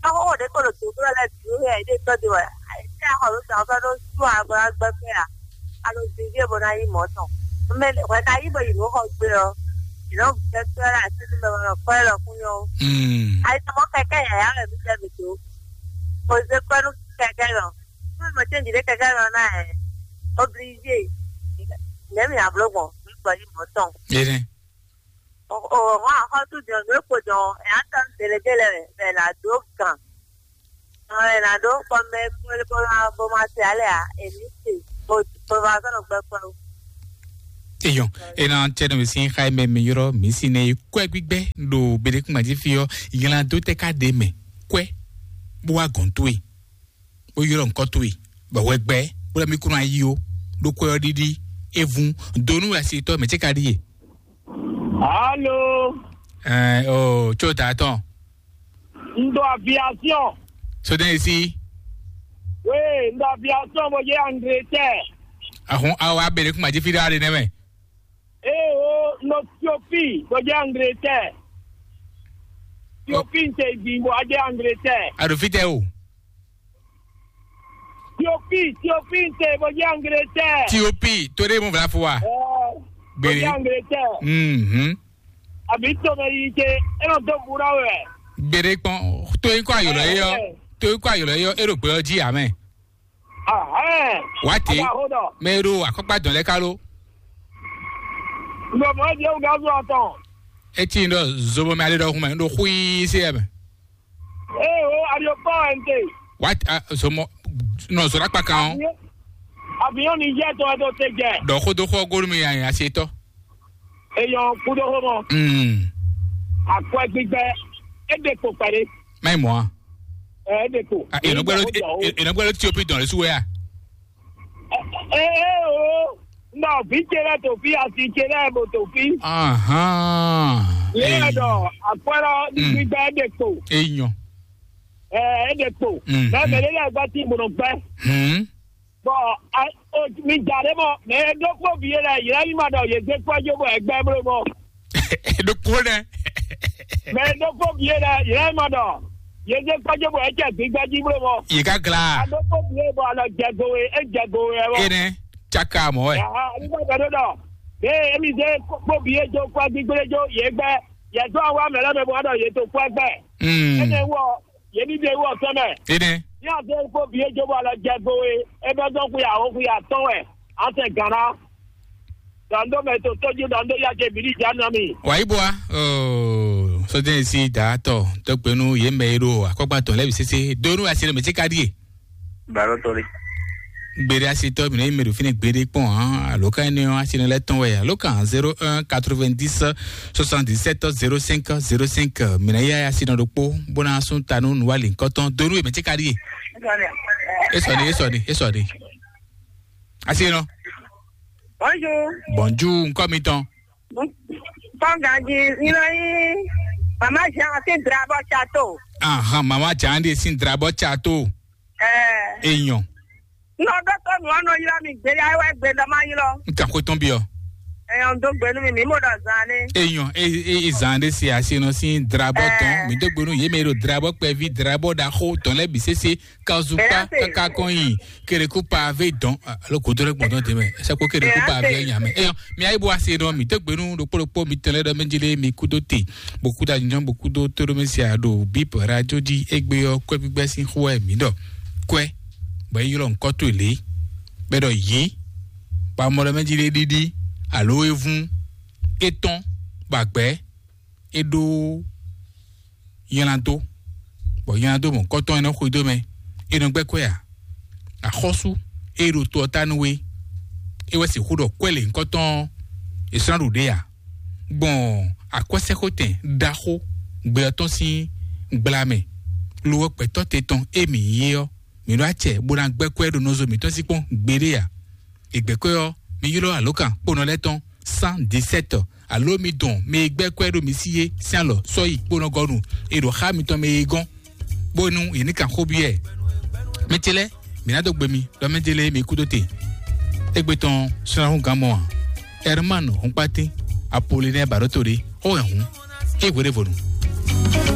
Ɔwɔ ɖe ko ɖo dòbló lɛ dùn yɛ ɖe tɔ de wɛ. Ɛsɛ xɔ ló sàn fɛ ɖó sùn agbára gbɛgbɛ a. Alo zizi bɔ na yi mɔ tɔn. Mɛ hwɛ ka yi bɔ yi nɔ xɔ gbé ɔ. Yi nɔ gbɛ kpɛ la asi ni mɛ nɔ kpɛ lɔ kun yɔ. Mm. Ayi tɔmɔ kɛkɛ yaya mɛ mi jɛ mi do. Ko ze kpɛ nu kɛkɛ lɔ. Fún mi mo tẹ́ ìdílé kẹ̀kẹ́ lọ náà ẹ̀. Obligé. Lẹ́mìí àbúrò gbọ̀n mi gbọ́ yìí mọ́ tán. Ere. Òun àkọ́tù jọ ló kò jọ ẹ̀ á tán tẹ̀lé délẹ̀ rẹ̀ là dó kàn. Àwọn ẹ̀ là dó kọ́ mẹ́ kúnlé bó máa bó máa tẹ̀ alẹ́ à èmi sì bó bó máa sọ̀rọ̀ gbẹ pẹ́ o. Eyɔn, ena tɛ nɔ mi sin xa mɛ mi yɔrɔ mi si ne kwɛ gbigbɛ ɖo beɖekungbaji fi ɔ ylan do tɛ ka ɖe mɛ kwɛ bó wá gɔn towe. Bó ylɔ́ nǔkɔ towe, bɔ hwɛ gbɛ, bó lɛ́ mí kún ná yí ó, ɖó kwɛ́ ɔ́ ɖíɖí, é vún, dó nú wɛ asitɔ́ mɛ ce ka ɖíe. Alo. Ɛɛ o tso ta tɔn. N ɖo aviation. Sodɛn esi. Oui, n ɖo aviation bó dze Angleterre. Ahun awo abele kuma dzi fi ɖe aɖe nɛ mɛ. Ee o, n ɖo Ethiopie bó dze Angleterre. Tiopi n te din bɔ a jɛ Angleterre. A ɖo fítɛ o. Tiopi, Tiopi n te bɔ jɛ Angleterre. Tiopi, to ɖe mo vla fo wa. Gbere. Bɔ jɛ Angleterre. Mhm. Abi to mɛ yi ce, e nɔ do bu na wɛ. Gbere kpɔn, to yi kɔ ayɔlɔ ye yɔ. To yi kɔ ayɔlɔ ye yɔ, e ɖo gbɛ ɔ ji amɛ. Ahɛn. Wá te. Aba ho dɔ. Mɛ e ɖo akɔkpa dɔn lɛ ka lo. Ŋgɔ mɔ di ewu gazu atɔn. Eti n ɖɔ zobɔ mɛ ale ɖɔ hun mɛ n ɖo xui se yɛ mɛ. Ee o, aɖiɔ kpɔ wɛ n te. Wá te, a, zomɔ nɔ zɔ ɖakpa kan o. Avion ni jɛ tɔ ɛtɔ te jɛ. Ɖɔ xo do xɔ golu mi yan asi tɔ. Eyɔn kudo xo mɔ. Mm. Akwɛ gbigbɛ, e de kpo kpɛɖe. Mai mɔ a. Ɛ, e de kpo. Ah, e nɔ gbɛdɔ, e nɔ gbɛdɔ Ethiopie dɔn le su wɛ a. Ee o, nɔ vi ce lɛ to fi, asi ce lɛ bo to fi. Ahan. Yɛ dɔ akwɛrɔ gbígbɛ de kpo. Eyɔn. Ɛ, e de kpo. Mm, mɛ mɛ lɛ gbɛ ti gbɔnɔ gbɛ. Hmm. Bɔn mi da ɖe mɔ mɛ e ɖokpó vi e lɛ yɛ yi ma ɖɔ yě zé kpɔ́ jó bɔ è gbɛ bló mɔ. Ɖokpó nɛ. Mɛ e ɖokpó vi e lɛ yɛ yi ma ɖɔ yě zé kpɔ́ jó bɔ è jɛ gbígbɛ jí bló mɔ. Yě ká gla. A ɖokpó vi e bɔ alɔ jɛ go e é jɛ go e wɛ mɔ. Enɛ caka mɔ wɛ. Aha, nígbà tó ɖɔ ɖɔ ee emi zé kpó vi e jó kpɔ́ gbígbé jó yě gbɛ yɛ tó awa mɛ lɛ mɛ bɔ ɖɔ yě tó kpɔ́ gbɛ. Mm. Énɛ́ wɔ yě ní ɖe wɔ sɛmɛ. Enɛ. Ní a zé kpó bǐ é jó bɔ alɔ jɛ go e é bɛ́ dɔn xwe àwó xwe atɔ́ wɛ a tɛ gǎn ná. Dɔn dó mɛ to tójú dɔn dó yá jɛ bǐ ní já nɔ mi. Wàyí bua, sɔjɛ si da tɔ tɔgbɛnu yé mɛ yi ɖo akɔgba tɔn lɛbi sese donu asi ɖe mɛ tsi ka ɖie. Baro tɔli. Gbede asitɔ mi ne yi mɛ ɖo fínɛ gbede kpɔn hàn alo ka ne asi ne lɛ tɔn wɛ alo kan zéro un quatre-vingt-dix soixante-dix-sept zéro cinq zéro cinq mi ne ya asi nɔ ɖokpo bona sun tanu nuwali nkɔtɔn donu yé mɛ tsi ka ɖie. Esɔni, esɔni, esɔni. Asi nɔ. Bonjour. Bonjour, nkɔ mi tɔn. Kɔnganji, ina yi mama Jean sin drabɔ chateau. Ahan, mama Jean de sin drabɔ chateau. Ɛɛ. Eyɔn. Nɔ dɔtɔ nu ɔnɔ yla mi gbe ya wɛ gbe dɔ ma ylɔ. N kan ko tɔn bi ɔ. Eyɔn do gbe nu mi mi mo dɔ zan ne. Eyɔn, e e e zan de si asi nɔ sin drabɔ tɔn. Ɛɛ. Mi do gbe nu ye mɛ ɖo drabɔ kpɛvi drabɔ ɖaxo tɔn lɛ bi sese. Kazupa kaka kɔn yi kereku pavé dɔn alo kodo ɖe gbɔdɔ de mɛ sɛkpo kereku pavé nya mɛ eyɔ mi ayi bo ase dɔn mi tɛgbenu ɖokpo ɖokpo mi tɛlɛ ɖɔ mɛjele mi kudo te bo kudo anyɔ bo kudo toɖomɛsia ɖo bip radio dzi egbe yɔ kwɛ gbígbɛ sin xo wɛ mi ɖɔ kwɛ bɔ yi ylɔ nkɔ to le bɛ ɖɔ yi ba mɔ ɖɔ mɛjele ɖiɖi alo evun etɔn ba gbɛ e ɖó nylá dó, bɔ nylá dó mɔ̌hunkɔtɔn e nɔ xwedó mɛ, e nɔ gbɛ́ kwɛ́ ǎ. Axɔ́sú e ɖo to ɔ́ ta nú we, é wɛ sixú ɖɔ kwɛ́ lěhunkɔtɔn ɔ́, è sɔ́ ná ɖu ɖě ǎ. Gbɔn akwɛ́sɛ́xotɛn ɖaxó gbɛ ɔ́ tɔn sín gbla mɛ, lo ɔ́ gbɛ̌tɔ́ te tɔn e mǐ nyí é ɔ́, mǐ ɖó acɛ bó ná gbɛ́ kwɛ́ ɖo nɔzo mǐtɔn sí kpɔ́n gbeɖé ǎ. È gbɛ̌ kwɛ́ ɔ́, mi ylɔ́ alǒkan kponɔ lɛ́ɛ tɔn cent dix-sept, alo mi dɔn mɛ e gbɛ́ kwɛ́ ɖo mi sí é sín alɔ sɔ́yi kponɔgɔnu e ɖo xá mitɔn mɛ e gɔ́n, bónú yě ní kan xó byɔ́ ɛ. Mɛ ce lɛ́ɛ, mǐ ná dó gbe mi ɖɔ mɛ ce lɛ́ɛ mi kú dó te. Égbé tɔn sɔ́nahúngán mɔ ǎ. Herman Hɔnkpátín, Apolinɛ́ɛ Baɖótoɖé, xó wɛ hǔn, é hweɖévonu.